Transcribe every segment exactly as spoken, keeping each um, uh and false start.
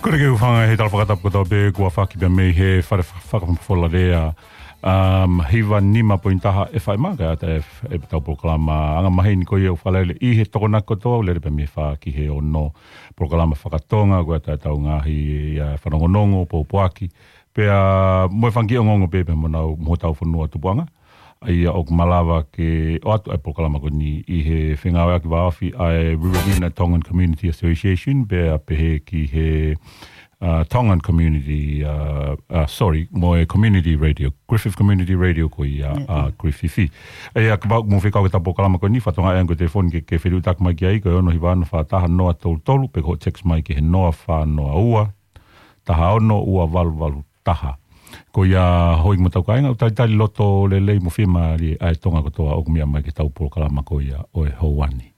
Kole ke u hūfanga he tala fakatapu kotoa pē kuo fakahoko mei he fale fa-, fakafola lea, um, hiva nima poini taha F M, kae ʻatā ʻe f-, ʻe tau polokalama anga maheni ko ia ʻoku fakalele ʻi he Tokonaki kotoa, ʻo lele pē mei he fā ki he ono, polokalama fakatonga, ko ia ʻa e tau ngaahi, ʻa, fanongonongo, pōpoaki, pea mo e fanga kiʻi ongoongo pē pea mo nau, mo hotau fonua tupuʻanga. ʻA ia ʻoku malava ke ʻoatu ʻa e polokalama ko eni ʻi he fengāueʻaki vāofi ʻa e Riverina Tongan Community Association, pea pehē ki he, uh, Tongan Community, uh, uh, sorry, mo e Community Radio, Griffith Community Radio ko ia, uh, Griffith. ʻA ia kapau ʻoku mou fie kau ki he tau polokalama ko eni, fakatokangaʻi ange ko e telefoni ke, ke fetuʻutaki mai ki ai, ko e ono hiva ono fā taha noa tolu tolu, pe ko e text mai ki he noa fā noa ua, taha ono ua valu valu taha. Ko ia hoi mo tau kāinga, ʻoku talitali loto lelei mo fiemālie ʻa e Tonga kotoa ʻoku meʻa mai ki he tau polokalama ko ia ʻo e houa ni.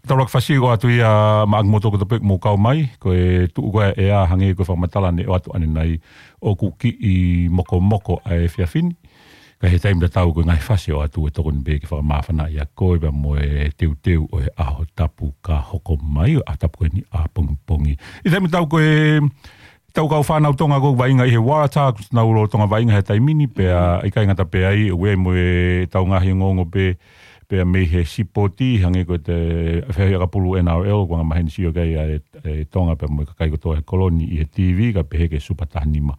Tau laka fasi ʻoatu ia maʻa kimoutolu kotoa pē ʻoku mou kau mai, ko e tuʻu ko ē ʻa e ʻea hangē ko e fakamatala ne ʻoatu ʻanenai ʻoku kiʻi mokomoko ʻa e efiafi ni. Ka ʻi he taimi tatau ko e ngaahi fasi ʻoatu ʻe tokoni pē ke fakamāfanaʻi koe pea mo e teuteu ʻo e ʻaho tapu ka hoko mai, ʻaho tapu ko eni ʻapongipongi. ʻI he taimi tatau ko e tau kau fānau Tonga ʻoku vaʻinga ʻi he Waratahs, nau lolotonga vaʻinga he taimi ni, pea ʻikai ngata pē ai, ʻoku ʻi ai mo e tau ngaahi ongoongo pē, pea mei he sipoti, hangē ko e feohi ʻakapulu N R L, ʻoku anga maheni sio ki ai ʻa e, e Tonga pea mo e kakai kotoa he kolo ni ʻi he T V, kae pehē ki he Super taha nima.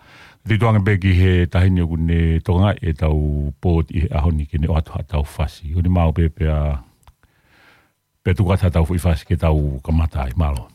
Tituʻange pē ki he taha ni ʻoku ne tokangaʻi e tau pōti ʻi he ʻaho ni ke ne ʻoatu haʻatau fasi. ʻOku ne maʻu pē pea, pea tuku atu haʻatau foʻi fasi ke tau kamata ai, mālō.